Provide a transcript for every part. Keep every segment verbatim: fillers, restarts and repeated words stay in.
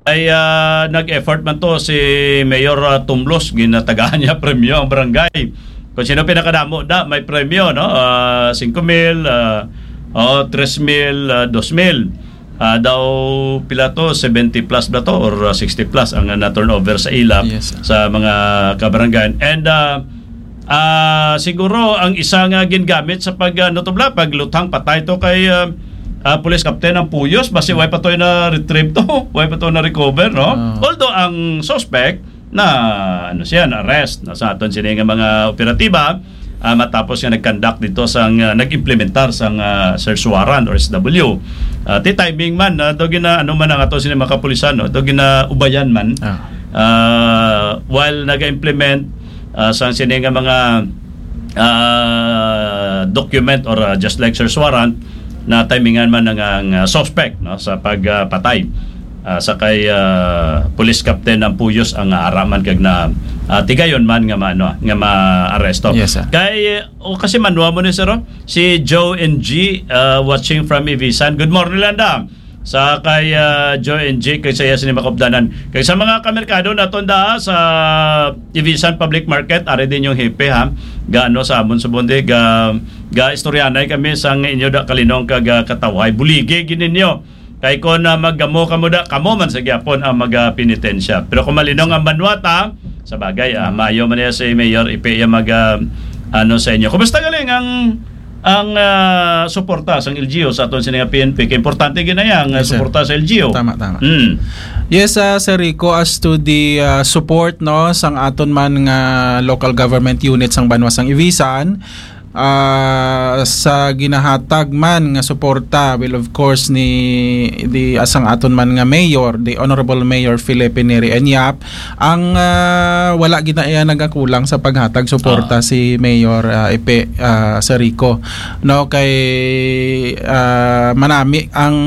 Ay, ah, nag-effort man to si Mayor, ah, Tumlos, ginatagaan niya premyo ang barangay. Kung sino pinakadamo na may premyo, no? Ah, singko mil, ah, oh, tres mil, ah, dos mil. Ah, daw pila to, seventy plus ba to or, ah, sixty plus ang, ah, na-turnover sa ila Yes, sir. sa mga kabarangay. And, ah, ah, siguro ang isa nga gingamit sa pag, ah, ano to bla, pagluthang patay to kay, ah, ah, Police Captain ang Puyos, basi way pa to na-retrieve to, way pa to na-recover, no? Ah. Although ang suspect na, ano siya, na-arrest, no, sa aton sini nga mga operatiba, ah, matapos nga nag-conduct dito sang, ah, nag-implementar sang, ah, search warrant or S W. Ah, ti timing man, ah, daw gina-, ano man ang ato sini mga kapulisan, no? Daw ginaubayan man. Ah. Ah, while nag-implement, ah, sang sini nga mga, ah, document or, ah, just like search warrant, na timingan man ang, ang, ah, suspect, no, sa pagpatay, ah, sa kay, ah, Police Captain ang Puyos ang, ah, araman kag na, ah, tigayon man nga maano, nga maaresto. Yes, sir. Kay, o kasi manwa mo ni sir, oh, si Joe N G, ah, watching from Ivisan. Good morning, Landa. Sa kay, ah, Joe N G, kay saya sini makupdanan. Kay sa mga kamerkado naton da sa Ivisan Public Market, ari din yung hepe, ha. Gaano sa amon sa Bonde, ga, ga istoryanay kami sang inyo da kalinong kag, ah, katawhay. Buligi gid ninyo. Kay kon, ah, maggamo kamo da, kamo man sa gyapon ang magapenitensya. Pero kung malinong ang banwata, sa bagay, ah, mayo man niya si Mayor Ipe iya mag, ah, ano sa inyo. Kumusta galing ang, ang, ah, suporta sang L G U sa aton sini nga P N P? Kay importante ginaya ang, ah, Yes, sir. suporta sa L G U. Tama, tama. Mm. Yes, ah, Sir Rico, as to the, ah, support, no, sang aton man nga local government unit sang banwa sang Ivisan, ah, sa ginahatag man nga suporta, well, of course, ni, di, asang aton man nga mayor, the Honorable Mayor Felipe Neri Enyap, ang, ah, wala gid na iya nagakulang sa paghatag suporta Ah. si Mayor, ah, Ipe, ah, Sir Rico. No, kay, ah, manami ang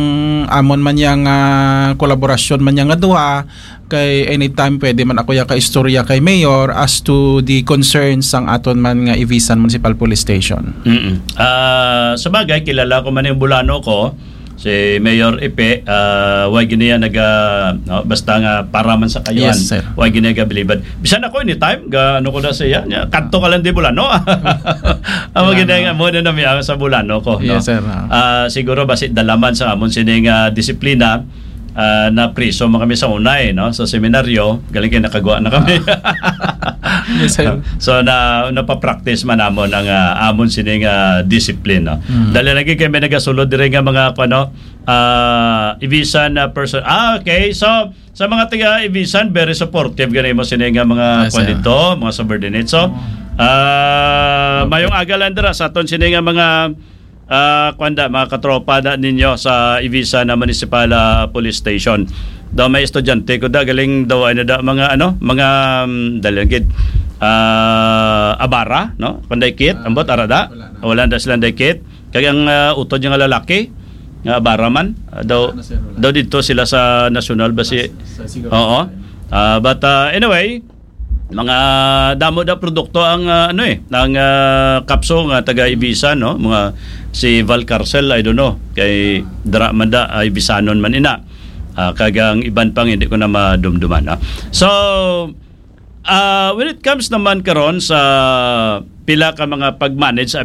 amon man yang, ah, kolaborasyon man yang nga duha, kay anytime pwede man ako ya ka istorya kay Mayor as to the concerns sang aton man nga Ivisan Municipal Police Station. Mm-mm. Ah, sa bagay, kilala ko man yung Bulano ko, si Mayor Ipe, ah, way gini yan naga, no, basta nga para man sa kayuhan, Yes, sir. way gini nagabilibad. Bisan ako anytime, ga, ano ko na siya, niya, kadto ka lang di Bulano. Ang Bulano. maganda nga mo na nami ang sa Bulano ko, no? Yes, sir, ah. Ah, siguro basi dalaman sa amon sining, ah, disiplina, ah, na priso man kami sa unay, no? Sa seminaryo, galing kay nakagwa na kami. Ah. Yes, sir. So, na, napapractice man namon ang, ah, amon sining, ah, discipline, no? Mm. Dali lagi kay may nagasulod diri nga mga, ano, ah, Ibisan na person. Ah, okay. So, sa mga taga Ibisan, very supportive gani mo sini nga mga Yes, kwan sir. dito, mga subordinates. So, Mm. ah, Okay. mayong aga lang dira sa aton sini nga mga, ah, kwan da, mga katropa da ninyo sa Ibisan na Municipal, ah, Police Station. Daw may estudyante ko da, galing daw, ano da, mga, ano, mga, um, dali lang gid. Ah, Abara, no? Kung day kit, Ah, ambot, ara da. wala na. Wala na silang day kit. Kag ang, ah, utod niya nga lalaki, nga Abara man, ah, daw, Wala na, sir, wala. daw dito sila sa National ba si Sa, sa siguro. Oo. Ah, but, ah, anyway, mga damo na produkto ang, ah, ano eh, ang, ah, kapso nga taga Ibisan, no? Mga si Val Carcel, I don't know. Kay dra man da, ay Ibisanon man ina. Ah, kag ang iban pang hindi ko na madumduman, no? So, ah, when it comes naman karon sa pila ka mga pag-manage sa